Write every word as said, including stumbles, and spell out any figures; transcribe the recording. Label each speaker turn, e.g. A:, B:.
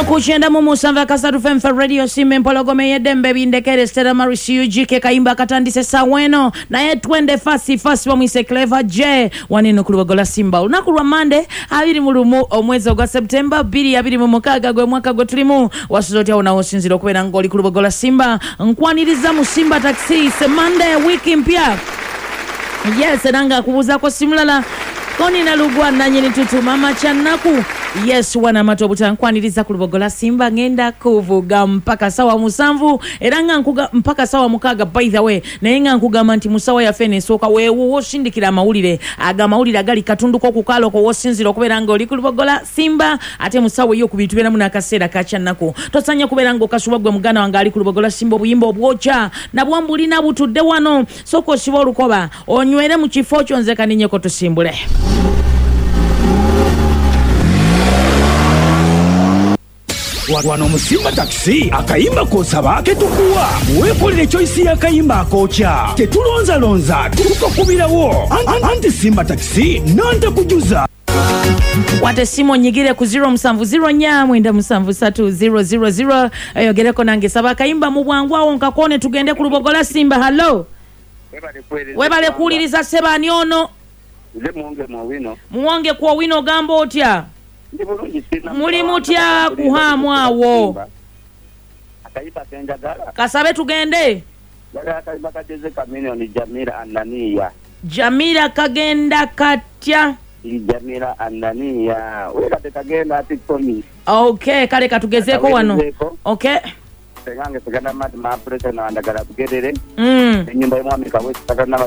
A: Ku kyenda mu musanvu akasatu F M Radio Simba, empologoma ey'eddembe. Bindekere Stella Maris U G ke kayimba akatandise essaawa eno, naye twende fasi fasi. Bamwise Clever J waneno ku Lubagola Simba. Olunaku lwa Mande, abiri mu lumu omwezi ogwa Septemba bbiri abiri mu mukaaga, gwe mwaka gwe tulimu. Wasuza otya wonawo osinzira okubeera ng'oli ku Lubagola Simba? Nkwaniriza mu Simba Taxi semande, wiiki mpya. Yes, era nga akubuuzaako simulala konina lugwa nanyini tutu mama kyannaku. Yes, wana amata obutankwaniriza ku Lubogola Simba. Ngenda kuvuga mpaka sawa musanvu, era nga nkuga mpaka sawa mukaaga, by the way. Naye nga nkugamba nti musawa yaffe eno esooka weewuwo osindikira amawulire, aga amawulire agali katundu k'okukaalo wosinzira okubeera nga oli ku Lubogola Simba. Ate musawa eyokubiri tubeeramu n'akaseera ka kyannaku. Tosanya kubeera nga okasuba gwe muganda wange ali ku Lubogola Simba. Obuyimba obwokya nabwo mbulina butudde wano. Sooka osiba olukoba onywere mu kifo kyo, nze kaninyeko tusimbule.
B: Wano mu Simba Takisi, akayimba k'osaba ketukuwa. Weekolera choice y'akayimba akookya, tetulonzalonza, tukakubirawo. Anti Simba Takisi nantakujuza.
A: Wate simu onyigire ku zero musanvu zero nnya mwenda musanvu ssatu zero zero zero, eyogereko nange. Saba akayimba mu bwangu awo nkakone tugende ku Lubogola Simba. Hallo. Webale kuwuliriza sebaani ono?
C: Nze Muwonge Mwowino.
A: Muwonge ku Owino, ogamba otya?
C: Ndi bulungi, sina.
A: Muli mutya kuhaamu awo?
C: Akayimba kenjagala.
A: Kasabe tugende.
C: Njagala akayimba kageze Chameleone, Jamila Ananiya.
A: Jamila kagenda katya?
C: Jamila Ananiya wekate kagenda ati komi.
A: Okay, kale katugezeeko wano.
C: Akawerezeeko.
A: Okay.
C: Sengange segana mati mapuresa nawandagala bugerere.
A: mm.
C: Enyumba y'omwami Kawesi sakana.